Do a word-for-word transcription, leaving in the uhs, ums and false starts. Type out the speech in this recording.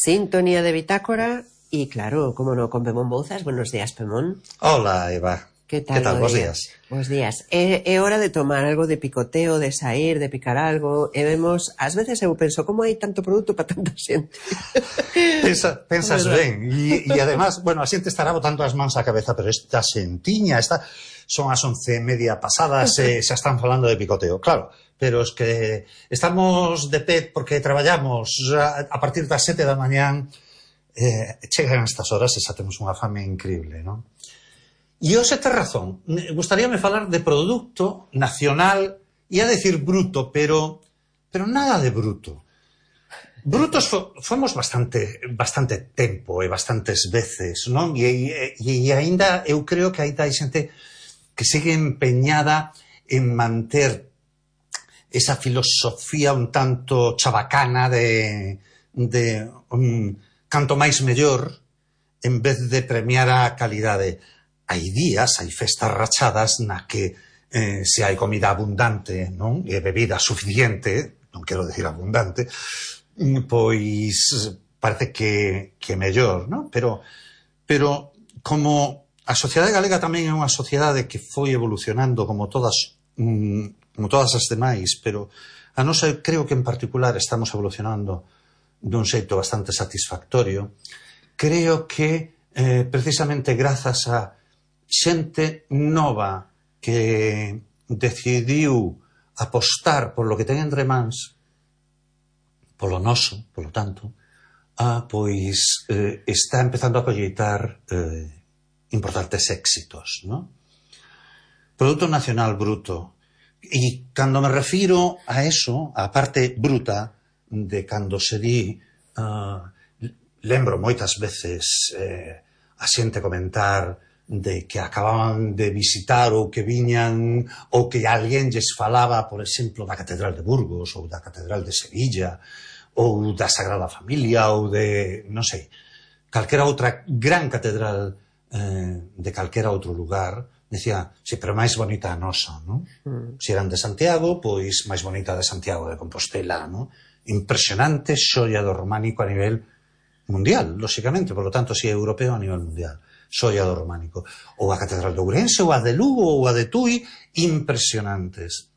Sintonía de Bitácora y, claro, como no, con Pemón Bouzas. Buenos días, Pemón. Hola, Eva. Que tal? Que tal? Bos días. Bos días. É, é hora de tomar algo de picoteo, de sair, de picar algo, e vemos, ás veces eu penso, como hai tanto produto para tanta xente? Pensa, pensas ben, e, e además, bueno, a xente estará botando as mans á cabeza, pero esta xentiña, esta, son as once e media pasadas, e xa están falando de picoteo, claro, pero es que estamos de pé porque traballamos a, a partir das sete da mañán, eh, chegan estas horas e xa temos unha fame increíble, non? E hoxe tes razón, gustaríame falar de produto nacional, ia decir bruto, pero pero nada de bruto. Brutos fo, fomos bastante bastante tempo e bastantes veces, non? E, e, e aínda eu creo que aínda hai xente que segue empeñada en manter esa filosofía un tanto chabacana de, de um, canto máis mellor en vez de premiar a calidade. Hai días, hai festas rachadas na que eh, se hai comida abundante, non? E bebida suficiente, non quero decir abundante, pois parece que, que mellor, non? Pero, pero como a sociedade galega tamén é unha sociedade que foi evolucionando como todas, como todas as demais, pero a nosa creo que en particular estamos evolucionando dun xeito bastante satisfactorio. Creo que eh, precisamente grazas a xente nova que decidiu apostar por lo que ten entre mans, polo noso, polo tanto, ah, pois eh, está empezando a colleitar eh, importantes éxitos, ¿no? Producto nacional bruto. E cando me refiro a eso, a parte bruta de cando se di, uh, lembro moitas veces eh, a xente comentar de que acababan de visitar ou que viñan ou que alguén lles falaba, por exemplo, da Catedral de Burgos ou da Catedral de Sevilla ou da Sagrada Familia ou de, non sei, calquera outra gran catedral eh, de calquera outro lugar. Decía, sí, pero máis bonita a nosa, non? Mm. Se eran de Santiago, pois máis bonita de Santiago de Compostela, non? Impresionante xoia do románico a nivel mundial, lóxicamente, por lo tanto, si é europeo a nivel mundial. Xoia do románico. Ou a Catedral de Ourense, ou a de Lugo, ou a de Tui, impresionantes.